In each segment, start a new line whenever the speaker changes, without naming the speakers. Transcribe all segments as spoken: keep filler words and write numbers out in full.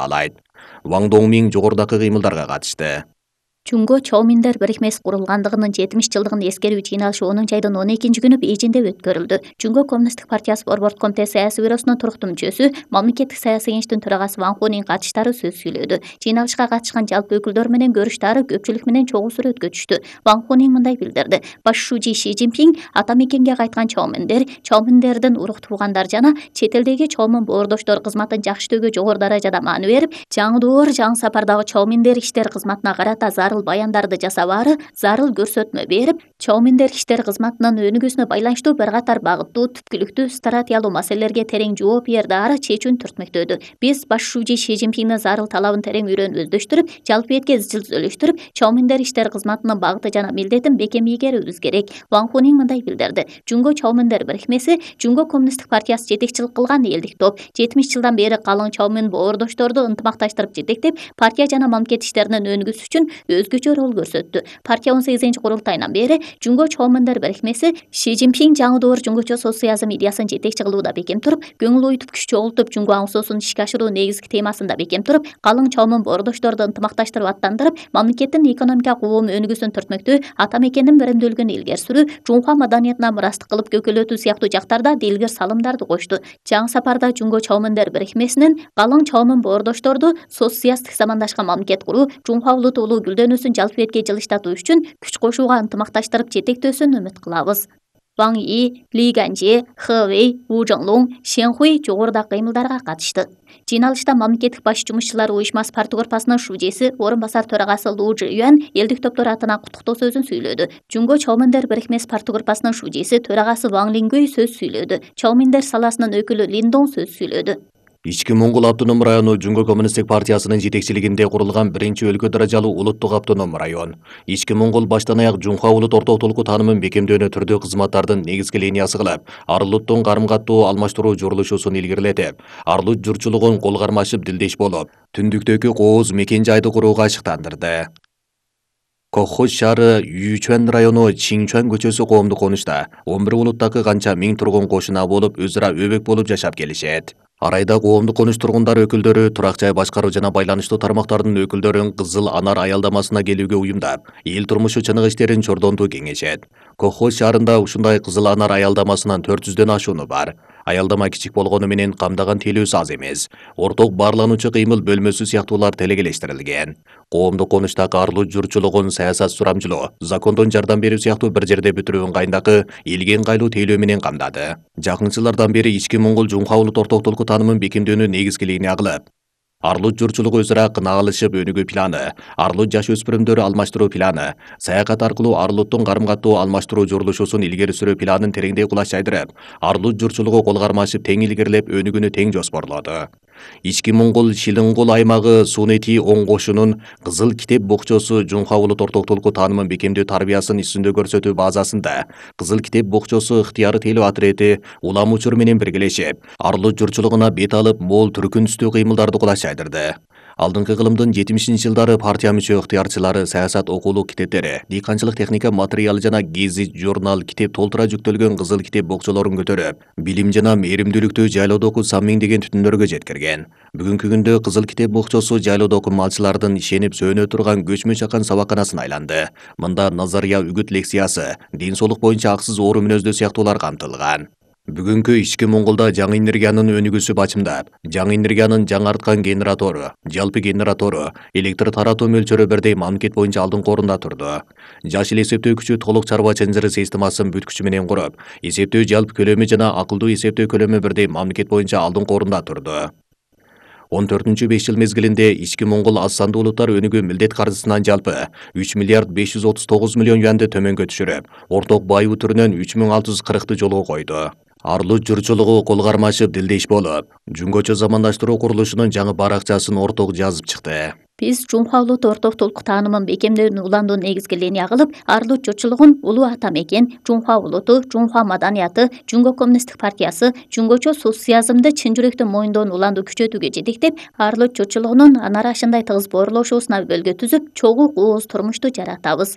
алайт. Ван Доңмин жогорудагы кыймылдарга катышты.
Жунго Чоуминдер бирикмеси курулгандыгынын жетимиш жылдыгын эскерүү жыйналышы онунчу айдын он экинчи күнү Бейжиңде өткөрүлдү. Жунго Коммунисттик партиясы Борбордук комитети саясий бюросунун туруктуу мүчөсү, мамлекеттик саясий кеңештин төрагасы Ван Хунин катышкычтары сөз сүйлөдү. Жыйналышка катышкан жалпы өкүлдөр менен көрүштары көпчүлүк менен чогуу сүрөткө түштү. Ван Хунин мындай билдирди: Баш шужи Ши Цзиньпин ата мекенге кайткан Чоуминдер, Чоуминдердин урук туугандар жана чет элдеги Чоумин боордоштор кызматын жакшыртүүгө жогору даражада маани берип, жаңы доор, жаңы сапардагы Чоуминдер иштер кызматына карата зарыл баяндарды жасабаары, зарыл көрсөтмө берип, Чоуминдер иштер кызматынын өнүгүүсүнө байланыштуу бир катар багыттуу, түпкүлүктүү, стратегиялуу маселелерге терең жооп берди, ары чечүүнү түртмөктөдү. Биз баш шужи Ши Цзиньпиндин зарыл талабын терең үйрөнүп өздөштүрүп, жалпы этке изчил өзөлүштүрүп, Чоуминдер иштер кызматынын багыты жана милдетин бекем ийгерүүбүз керек. Ван Хунин мындай билдирди: Жунго Чоуминдер бирикмеси Жунго Коммунисттик партиясы жетекчилик кылган элдик топ. жетимиш жылдан бери калың Чоумин боордошторду ынтымакташтырып жетектеп, партия жана мамлекет иштеринин өнүгүүсү үчүн өзгөчө роль көрсөттү. Партия он сегизинчи курултайынан бери Жунго Чоуминдер бирикмеси Ши Цзиньпин жаңы доор жунгочо социализм идеясын жетекчи кылууда бекем туруп, көңүл ойтуп күч чогултуп, Жунго аң соосун ишке ашыруу негизги темасында бекем туруп, калың Чоумин боордошторду ынтымакташтырып аттандырып, мамлекеттин экономикалык уум өнүгүүсүн түртмөктөө, ата мекендин беремдүүлүгүн илгери суруу, Жунхва маданиятына мурастык кылып көкөлөтүү сыяктуу жактарда дилгир салымдарды кошту. Жаңы сапарда Жунго Чоуминдер бирикмесинин калың Чоумин боордошторду социалисттик замандашкан мамлекет куруу, Жунхва улуту улуу гүлдөнүүсүн жалпы этке жылыштатуу үчүн күч кошууга ынтымакташтырып жетектөөсүн үмүт кылабыз. Ван И, Ли Ганжи, Хэ Вэй, Ву Жонглун, Шен Хуй жогорудагы кыймылдарга катышты. Жыйналышта мамлекеттик баш жумушчулар уюшмасы партгорпасынын шужеси, орун басар төрагасы Лу Жиюан элдик топтор атынан куттуктоо сөзүн сүйлөдү. Жунго Чоуминдер бирикмеси партгорпасынын шужеси, төрагасы Ван Лингүй сөз сүйлөдү. Чоуминдер саласынын өкүлү Лин Дон сөз сүйлөдү.
Ички Моңгол автоном району Жунго Коммунисттик партиясынын жетекчилигинде курулган биринчи өлкө даражалуу улуттук автоном район. Ички Моңгол баштан аяк Жунхва улут ортодолку таанымын бекемдөөнө түрдүү кызматтардын негизги линиясы кылып, ар улуттун карым-каттоо алмаштыруу журулушусун илгерилетип, ар улут журтчулугун кол кармашып дилдеш болуп, түндүктөгү кооз мекен жайды курууга ашыктандырды. Коххоз шаары Юйчуан району Чинчуан көчөсү коомдук конушта он бир улуттагы канча миң тургун кошуна болуп, өзара өбөк болуп жашап келишет. Арайда коомдук конуш тургундары өкүлдөрү турак жай башкаруу жана байланыштуу тармактардын өкүлдөрүн Кызыл Анар аялдамасына келүүгө уюмдап, эл турмушу чыныгы иштерин чордонтуу кеңешет. Коххоз шаарында ушундай Кызыл Анар аялдамасынын төрт жүздөн ашууну бар. Аялдама кичик болгону менен камдаган тейлөөсү аз эмес. Орток баарлануучу кыймыл бөлмөсү сыяктуулар телегелештирилген. Коомдук конуштагы ар улут журтчулугун саясат сурамжылоо, закондон жардам берүү сыяктуу бир жерде бүтүрүү ыңгайындагы элге ыңгайлуу тейлөө менен камдады. Жакын жылдардан бери Ички Моңгол Жунхва улут ортодолку таанымын бекемдөөнү негизги линия кылып, ар улут журтчулугу өзара кынаалышып өнүгүү планы, ар улут жаш өспүрүмдөрү алмаштыруу планы, саякат аркылуу ар улуттун карым-каттоо алмаштыруу журулушусун илгери сүрүү планын тереңдей кулаш жайдырып, ар улут журтчулугу кол кармашып тең илгерилеп өнүгүүнү тең жоспорлоду. Ички Моңгол Шилингол аймагы Сунети оң кошунун Кызыл китеп бокчосу Жунхва улут ортодолку таанымын бекемдөө тарбиясын үстүндө көрсөтүү базасында Кызыл китеп бокчосу ыктыяры тейлөө атрети улам учур менен биргелешип, ар улут журтчулугуна бет алып, мол түркүн түстүү кыймылдарды кулаш жайдырды. Алдыңкы кылымдын жетимишинчи жылдары партия мүчө ыктыярчылары саясат окуулук китептери, дыйканчылык техника материалы жана гезит, журнал, китеп толтура жүктөлгөн Кызыл китеп бокчолорун көтөрүп, билим жана мээримдүүлүктү жайлоодогу сан миңдеген түтүндөргө жеткирген. Бүгүнкү күндө Кызыл китеп бокчосу жайлоодогу малчылардын ишенип сөөнө турган көчмө чакан сабаканасына айланды. Мында назария үгүт лекциясы, ден соолук боюнча аксыз оору мүнөздүү сыяктуулар камтылган. Бүгүнкү Ички Моңголдо жаңы энергиянын өнүгүүсү бачымдап, жаңы энергиянын жаңарткан генератору, жалпы генератору, электр таратуу мөлчөрү бирдей мамлекет боюнча алдыңкы орунда турду. Жаш эл эсептөө күчү толук чарба чынжыры системасын бүт күчү менен куруп, эсептөө жалпы көлөмү жана акылдуу эсептөө көлөмү бирдей мамлекет боюнча алдыңкы орунда турду. он төртүнчү беш жыл мезгилинде Ички Моңгол аз сандуу улуттар өнүгүү милдет каржысынан жалпы үч миллиард беш жүз отуз тогуз миллион юанды төмөнгө түшүрүп, орток байыбы түрүнөн үч миң алты жүз кыркты жолго койду. Ар улут журтчулугу кол кармашып дилдеш болуп, жунгочо замандаштыруу курулушунун жаңы баракчасын орток жазып чыкты.
Биз Жунхва улут ортодолку таанымын бекемдөөнү уландуу негизги линия кылып, ар улут журтчулугун улуу ата мекен, Жунхва улуту, Жунхва маданияты, Жунго Коммунисттик партиясы, жунгочо социализмди чын жүрөктөн моюндоону уландуу күчөтүүгө жетектеп, ар улут журтчулугунун ана арашындай тыгыз боорлошуусуна өбөлгө түзүп, чогуу кооз турмушту жаратабыз.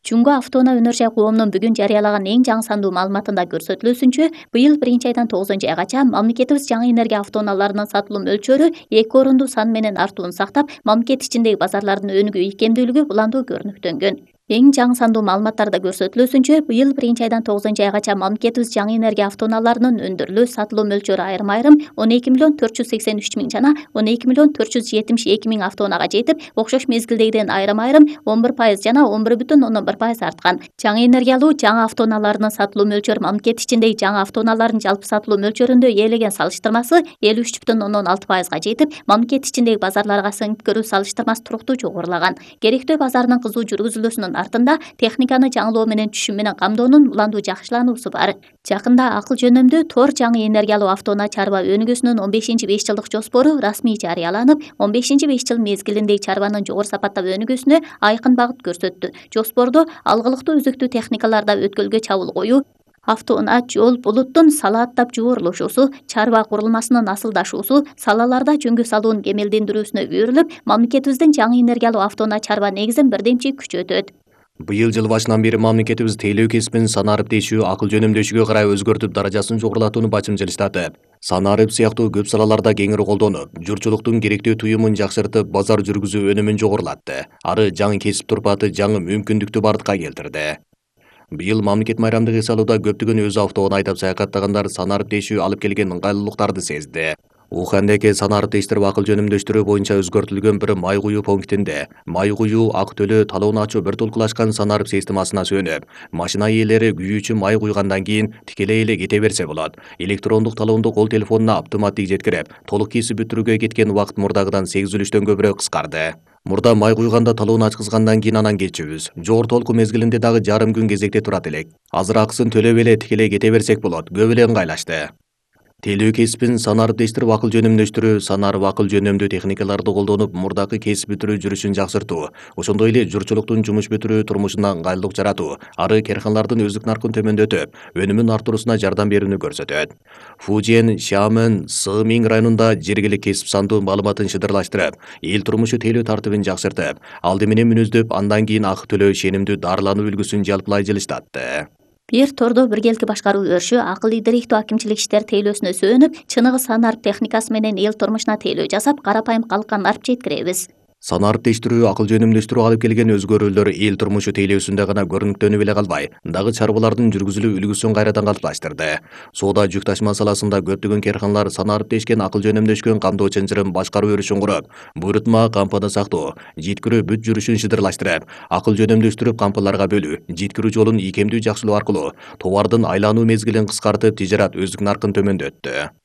Жунго автоунаа өнөр жай коомунун бүгүн жарыялаган эң жаңы сандуу маалыматында көрсөтүлүүсүнчө, быйыл биринчи айдан тогузунчу айгача мамлекетибиз жаңы энергия автоунааларынын сатылуу мөлчөрү эки орунду сан менен артуун сактап, мамлекет ичиндеги базарлардын өнүгүү ийкемдүүлүгү уланду көрүнүктөнгөн. Эң жаңы сандуу маалыматтарда көрсөтүлүүсүнчө, быйыл биринчи айдан тогузунчу айгача мамлекетибиз жаңы энергия автоунааларынын өндүрүлүү, сатылуу мөлчөрү айрым-айрым он эки миллион төрт жүз сексен үч миң жана он эки миллион төрт жүз жетимиш эки миң автоунаага жетип, окшош мезгилдегиден айрым-айрым он бир пайыз жана он бир бүтүн ондон бир пайыз арткан. Жаңы энергиялуу жаңы автоунааларынын сатылуу мөлчөрү мамлекет ичиндеги жаңы автоунаалардын жалпы сатылуу мөлчөрүндө ээлеген салыштырмасы элүү үч бүтүн ондон алты пайызга жетип, мамлекет ичиндеги базарларга сиңип салыштырмасы туруктуу жогорулаган. Керектөө базарынын кызуу жүргүзүлүүсүнүн артында техниканы жаңылоо менен түшүм менен камдоонун уландуу жакшылануусу бар. Жакында акыл жөнөмдүү Тор жаңы энергиялуу автоунаа чарба өнүгүүсүнүн он бешинчи беш жылдык жоспору расмий жарыяланып, он бешинчи беш жыл мезгилиндеги чарбанын жогору сапаттап өнүгүүсүнө айкын багыт көрсөттү. Жоспордо алгылыктуу өзүктүү техникаларда өткөлгө чабуул коюу, автоунаа жол булуттун салааттап жуурулушусу, чарба курулмасынын асылдашуусу, салаларда жөнгө салуунун кемелдендирүүсүнө үйрүлүп, мамлекетибиздин жаңы энергиялуу автоунаа чарба негизин бирдемчи күчөтөт.
Быйыл жыл башынан бери мамлекетибиз тейлөө кесибин санарып тейшүү, акыл жөнөмдөшүүгө карай өзгөртүп, даражасын жогорулатууну бачымчылыштатып, санарып сыяктуу көп салаларда кеңири колдонуп, журтчулуктун керектүү туюмун жакшыртып, базар жүргүзүү өнүмүн жогорулатты. Ары жаңы кесип турпаты, жаңы мүмкүндүктү бардыкка келтирди. Быйыл мамлекет майрамдык эс алууда көптөгөн өз автоунаа айдап саякаттагандар санарып тейшүү алып келген ыңгайлуулуктарды сезди. Ухандеке санарып тейштирип акыл жөнөмдөштүрүү боюнча өзгөртүлгөн бир май куюу пунктинде май куюу, ак төлөө, талоонун ачуу бир толкулашкан санарып системасына сөнүп, машина ээлери күйүүчү май куйгандан кийин тикелей эле кете берсе болот. Электрондук талоонду кол телефонуна автоматтик жеткирип, толук кесип бүтүрүүгө кеткен убакыт мурдагыдан сегиз үлүштөн көбүрөөк кыскарды. Мурда май куйганда талоону ачкызгандан кийин анан кетчүбүз. Жогору толку мезгилинде дагы жарым күн кезекте турат элек. Азыр акысын төлөп эле тикелей кете берсек болот. Көп эле ыңгайлашты. Тейлөө кесибин санарып тейштирип акыл жөнөмдөштүрүү, санарып акыл жөнөмдүү техникаларды колдонуп, мурдакы кесип бүтүрүү жүрүшүн жакшыртуу, ошондой эле журтчулуктун жумуш бүтүрүү турмушуна ыңгайлуулук жаратуу, ары карханалардын өздүк наркын төмөндөтүп, өнүмүн артыруусуна жардам берүүнү көрсөтөт. Фужиен, Шиамын, Сымиң районунда жергилик кесип сандуу маалыматын шыдырлаштырып, эл турмушу тейлөө тартибин жакшыртып, алды менен мүнөздөп, андан кийин ак төлөө ишенимдүү дарылануу үлгүсүн жалпылай жылыштатты.
Бир тордо биргелики башкаруу өрүшү акыл ийдириктүү акимчилик иштер тейлөөсүнө сөөнүп, чыныгы санарып техникасы менен эл турмушуна тейлөө жасап, карапайым калкка нарып жеткиребиз.
Санарып тейштирүү, акыл жөнөмдөштүрүү алып келген өзгөрүүлөр эл турмушу тейлөөсүндө гана көрүнүктөнүп эле калбай, дагы чарбалардын жүргүзүлүү үлгүсүн кайрадан калыпташтырды. Соода жүк ташыма саласында көптөгөн карханалар санарып тейшкен, акыл жөнөмдөшкөн камдоо чынжырын башкаруу өрүшүн куруп, буйрутма кампаны сактоо, жеткирүү бүт жүрүшүн шыдырлаштырып, акыл жөнөмдөштүрүп кампаларга бөлүү, жеткирүү жолун ийкемдүү жакшылоо аркылуу товардын айлануу мезгилин кыскартып, тижарат өздүк наркын төмөндөттү.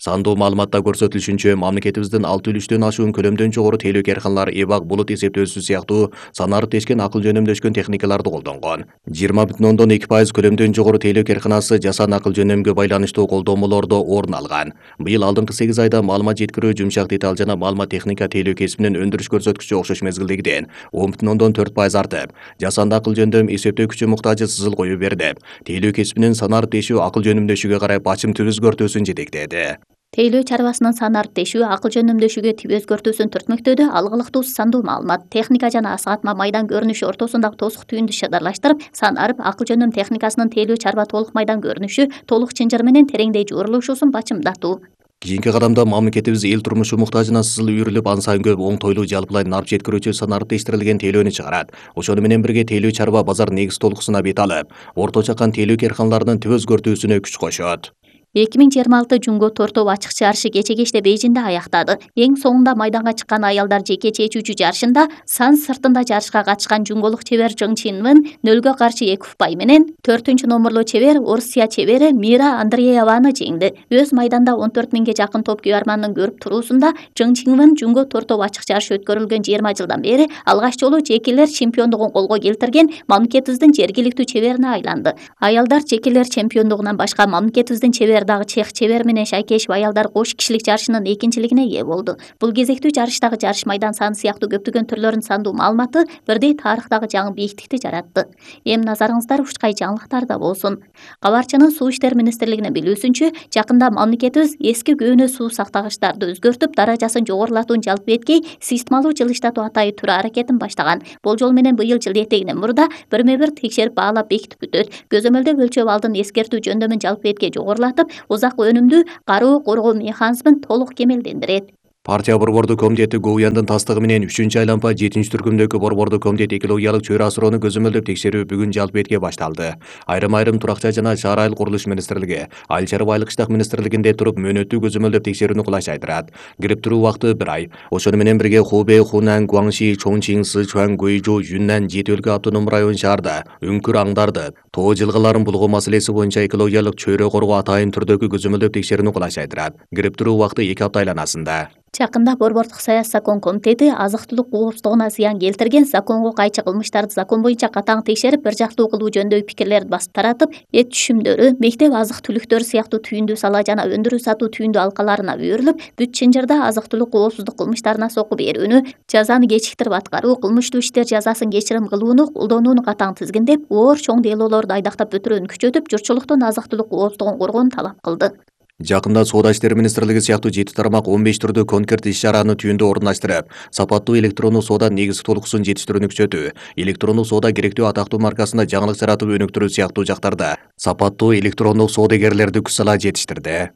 Сандуу маалыматта көрсөтүлүшүнчө, мамлекетибиздин алты үлүштөн ашуун көлөмдөн жогору тейлөө карханалар эбак булут эсептөөсү сыяктуу санарып тейшкен, акыл жөнөмдөшкөн техникаларды колдонгон. жыйырма бүтүн ондон эки пайыз көлөмдөн жогору тейлөө карханасы жасан акыл жөнөмгө байланыштуу колдомолордо орун алган. Быйыл алдыңкы сегиз айда маалымат жеткирүү, жумшак деталь жана маалымат техника тейлөө кесибинин өндүрүш көрсөткүчү окшош мезгилдегиден он бүтүн ондон төрт пайыз артып, жасанды акыл жөндөм эсептөө күчү муктажы сызыл коюу берди. Тейлөө кесибинин санарып тейшүү, акыл жөнөмдөшүүгө карай бачымтуу өзгөртүүсүн жетектеди.
Тейлөө чарбасынын санарып тейшүү, акыл жөнөмдөшүүгө тип өзгөртүүсүн түртмөктөдө алгылыктуу сандуу маалымат, техника жана асыгатма майдан көрүнүшү ортосундагы тосук түйүндү шыдырлаштырып, санарып акыл жөнөм техникасынын тейлөө чарба толук майдан көрүнүшү, толук чынжыр менен тереңдей жуурулушусун бачымдатуу.
Кийинки кадамда мамлекетибиз эл турмушу муктажына сызыл үйрүлүп, ан сайын көп оңтойлуу жалпылай нарып жеткирүүчү санарып тейштирилген тейлөөнү чыгарат. Ошону менен бирге тейлөө чарба базар негиз толкусуна бет алып, орто чакан тейлөө карханаларынын түп өзгөртүүсүнө күч кошот.
эки миң жыйырма алты Жунго Тортоо ачык чарышы кече кечте Бейжиңде аяктады. Эң соңунда майданга чыккан аялдар жеке чечүүчү жарышында сан сыртында жарышка катышкан жунголук чебер Жың Чинвын нөлгө каршы эки упай менен төртүнчү номурлуу чебер Орусия чебери Мира Андрееваны жеңди. Өз майданда он төрт миңге жакын топ күйөрмандын көрүп туруусунда Жың Чинвын Жунго Тортоо ачык чарышы өткөрүлгөн жыйырма жылдан бери алгач жолу жекелер чемпиондугун колго келтирген мамлекетибиздин жергиликтүү чеберине айланды. Аялдар жекелер чемпиондугунан башка мамлекетибиздин чебери дагы чех чебер менен Шайкешев аялдар кош кишилик жарышынын экинчилигине ээ болду. Бул кезектүү жарыштагы жарыш майдан саны сыяктуу көптөгөн түрлөрүн сандуу маалыматы бирдей тарыхтагы жаңы бийиктикти жаратты. Эми назарыңыздар ушкай жаңылыктарда болсун. Кабарчынын Суу иштер министрлигинин билүүсүнчө, жакында мамлекетибиз эски көөнө суу сактагычтарды өзгөртүп, даражасын жогорулатуунун жалпы эткей системалуу жылыштатуу атайы түрү аракетин баштаган. Болжол менен быйыл жылдын этегинен мурда бирме бир текшерип баалап бекитип бүтөт. Көзөмөлдөп өлчөп алдын эскертүү жөндөмүн жалпы эткей жогорулатып, узак өнүмдүү кароо коргоо механизмин толук кемелдендирет.
Партия борбордук комитети Гоуяндын тастыгы менен үчүнчү айланма жетинчи түркүмдөгү борбордук комитет экологиялык чөйрө асыроону көзөмөлдөп текшерүү бүгүн жалпы этке башталды. Айрым-айрым турак жай жана шаар айыл курулуш министрлиги, Айыл чарба айыл кыштак министрлигинде туруп мөөнөттүү көзөмөлдөп текшерүүнү кылачайдырат. Кирип туруу убакыты бир ай. Ошону менен бирге Хубэй, Хунан, Гуаңши, Чоңчиң, Сычуан, Гуйжу, Юннан, Жети өлкө автоном район шаарда үңкүр аңдарды, тоо жылгаларын булгоо маселеси боюнча экологиялык чөйрө коргоо атайын түрдөгү көзөмөлдөп текшерүүнү кылачайдырат. Кирип туруу убакыты эки апта айланасында.
Жакында борбордук саясий закон комитети азык-түлүк коопсуздугуна зыян келтирген законго кайчы кылмыштарды закон боюнча катаң текшерип, бир жактуу кылуу жөнүндөгү пикирлерди басып таратып, эт түшүмдөрү, мектеп азык-түлүктөрү сыяктуу түйүндүү сала жана өндүрүү сатуу түйүндүү алкаларына үйрүлүп, бүт Чынжырда азык-түлүк коопсуздук кылмыштарына сокку берүүнү, жазаны кечиктирип аткаруу, кылмыштуу иштер жазасын кечирим кылууну колдонууну катаң тизгиндеп, оор чоң делолорду айдактап өтүрүүнү күчөтүп, журтчулуктун азык-түлүк коопсуздугун коргоону талап кылды.
Жакында Соода иштери министрлиги сыяктуу жети тармак он беш түрдүү конкрет иш-чараны түйүндө орундаштырып, сапаттуу электрондук соода негизги толкуусун жетиштирүүнү күчөтүү, электрондук соода керектүү атактуу маркасында жаңылык жаратып өнүктүрүү сыяктуу жактарда сапаттуу электрондук соодагерлерди күч сала жетиштирди.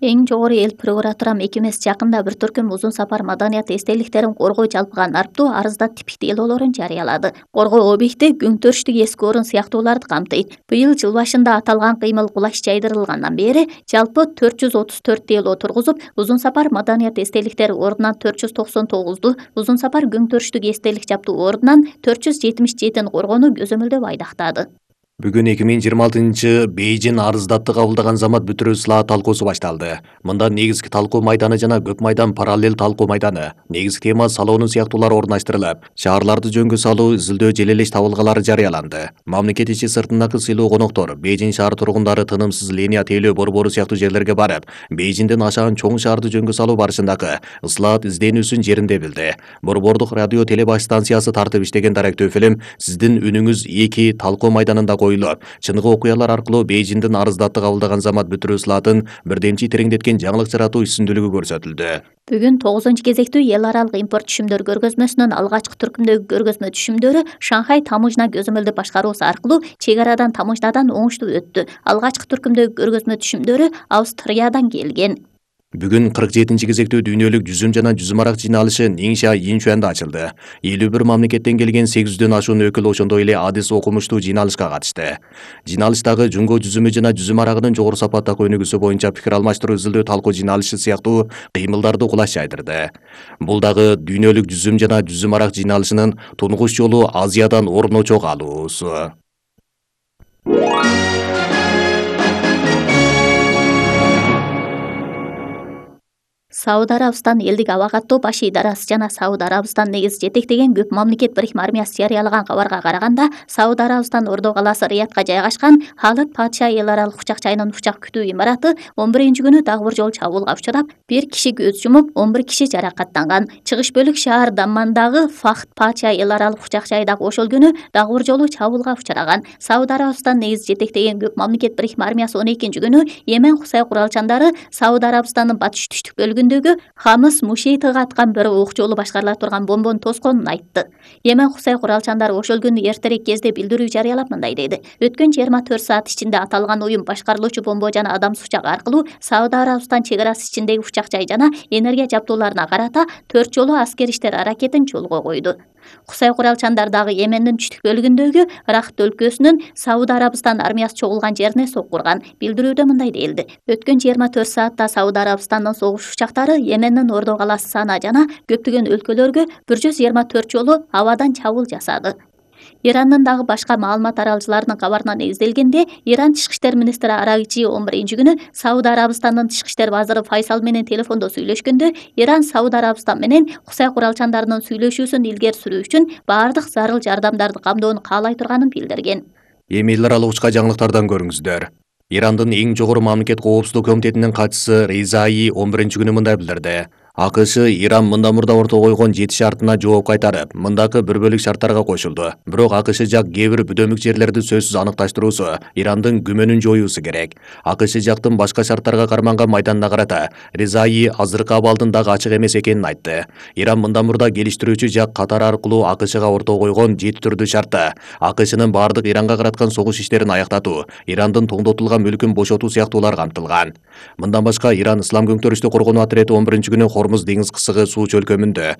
Эң жогору эл прокуратура мекемеси жакында бир түркүм узун сапар маданият эстеликтерин коргоо жалпыга нарптуу арызда типик делоолорун жарыялады. Коргоо объекти күңтөрүштүк эски орун сыяктууларды камтыйт. Быйыл жыл башында аталган кыймыл кулаш жайдырылгандан бери жалпы төрт жүз отуз төрт дело тургузуп, узун сапар маданият эстеликтери ордунан төрт жүз токсон тогузду, узун сапар күңтөрүштүк эстелик жаптуу ордунан төрт жүз жетимиш жетин коргоону көзөмөлдөп айдактады.
Бүгүн эки миң жыйырма алтынчы Бейжин арыздатты кабылдаган замат бүтүрүү сылаа талкуусу башталды. Мында негизги талкуу майданы жана көп майдан параллел талкуу майданы, негизги тема салоону сыяктуулар орундаштырылып, шаарларды жөнгө салуу, изилдөө желелеш табылгалары жарыяланды. Мамлекет ичи сыртындагы сыйлуу коноктор, Бейжин шаар тургундары тынымсыз линия тейлөө борбору сыяктуу жерлерге барып, Бейжинден ашаган чоң шаарды жөнгө салуу барышындагы ыслаат изденүүсүн жеринде билди. Борбордук радио телебаш станциясы тартып иштеген даректөө фильм «Сиздин үнүңүз эки талкуу майданында коюлуп, чыныгы окуялар аркылуу Бейжиндин арыздатты кабылдаган замат бүтүрүү сылаатын бирдемчи тереңдеткен жаңылык жаратуу үстүндүүлүгү көрсөтүлдү.
Бүгүн тогузунчу кезектүү эл аралык импорт түшүмдөр көргөзмөсүнүн алгачкы түркүмдөгү көргөзмө түшүмдөрү Шанхай тамыжна көзөмөлдөө башкаруусу аркылуу чек арадан тамыжнадан оңуштуу өттү. Алгачкы түркүмдөгү көргөзмө түшүмдөрү Австриядан келген.
Бүгүн кырк жетинчи кезектүү дүйнөлүк жүзүм жана жүзүм арак жыйналышы Ниңша Инчуанда ачылды. элүү бир мамлекеттен келген сегиз жүздөн ашуун өкүл, ошондой эле адис окумуштуу жыйналышка катышты. Жыйналыштагы жунго жүзүмү жана жүзүм арагынын жогору сапаттагы өнүгүүсү боюнча пикир алмаштыруу, изилдөө, талкуу жыйналышы сыяктуу кыймылдарды кулаш жайдырды. Бул дагы дүйнөлүк жүзүм жана жүзүм арак жыйналышынын тунгуч жолу Азиядан орун очок алуусу.
Сауд Арабистан элдик аба каттоо баш идарасы жана Сауд Арабистан негизи жетектеген көп мамлекет бирикме армиясы жарыялаган кабарга караганда, Сауд Арабистан Ордо калаасы Риядка жайгашкан Халид Патша эл аралык учак жайынын учак күтүү имараты он биринчи күнү дагы бир жолу чабуулга учурап, бир киши көз жумуп, он бир киши жаракаттанган. Чыгыш бөлүк шаар Даммандагы Фахд Патша эл аралык учак жайы дагы ошол күнү дагы бир жолу чабуулга учураган. Сауд Арабистан негизи жетектеген көп мамлекет бирикме армиясы он экинчи күнү Йемен Хусай куралчандары Сауд Арабистандын батыш түштүк бөлүгүндө Хамыс Мушейтиге аткан бир ок жолу башкарыла турган бомбону тосконун айтты. Йемен Хусай куралчандары ошол күнү эртерээк кезде билдирүү жарыялап мындай деди: өткөн жыйырма төрт саат ичинде аталган уюм башкарылуучу бомбо жана адам сучагы аркылуу Сауд Арабистан чек арасы ичиндеги учак жай жана энергия жабдууларына карата төрт жолу аскер иштер аракетин жолго койду. Хусай куралчандар дагы Йемендин түштүк бөлүгүндөгү Рахт өлкөсүнүн Сауд Арабистан армиясы чогулган жерине соккурган. Билдирүүдө мындай делди: өткөн жыйырма төрт саатта Сауд Арабистандын согуш учактары Йемендин Ордо калаасы Сана жана көптөгөн өлкөлөргө бир жүз жыйырма төрт жолу абадан чабуул жасады. Ирандын дагы башка маалымат аралчыларынын кабарына негизделгенде, Иран тышкы иштер министри Арагчи он биринчи күнү Сауд Арабистандын тышкы иштер вазыры Файсал менен телефондо сүйлөшкөндө, Иран Сауд Арабистан менен Хусай куралчандарынын сүйлөшүүсүн илгери сүрүү үчүн баардык зарыл жардамдарды камдоону каалай турганын билдирген.
Эми эл аралык учка жаңылыктардан көрүңүздөр. Ирандын эң жогору мамлекет коопсуздук комитетинин катчысы Ризаи он биринчи күнү мындай билдирди. АКШ Иран мындан мурда ортого койгон жети шартына жооп кайтарып, мындакы бир бөлүк шарттарга кошулду. Бирок АКШ жак кээ бир бүдөмүк жерлерди сөзсүз аныкташтыруусу, Ирандын күмөнүн жоюусу керек. АКШ жактын башка шарттарга карманган майданына карата Ризаи азыркы абалдын дагы ачык эмес экенин айтты. Иран мындан мурда келиштирүүчү жак Катар аркылуу АКШга ортого койгон жети түрдүү шартта АКШнын бардык Иранга караткан согуш иштерин аяктатуу, Ирандын тоңдотулган мүлкүн бошотуу сыяктуулар камтылган. Мындан башка Иран Ислам көңтөрүштү коргонуу отряды он биринчи күнү Хормуз деңиз кысыгы суу чөлкөмүндө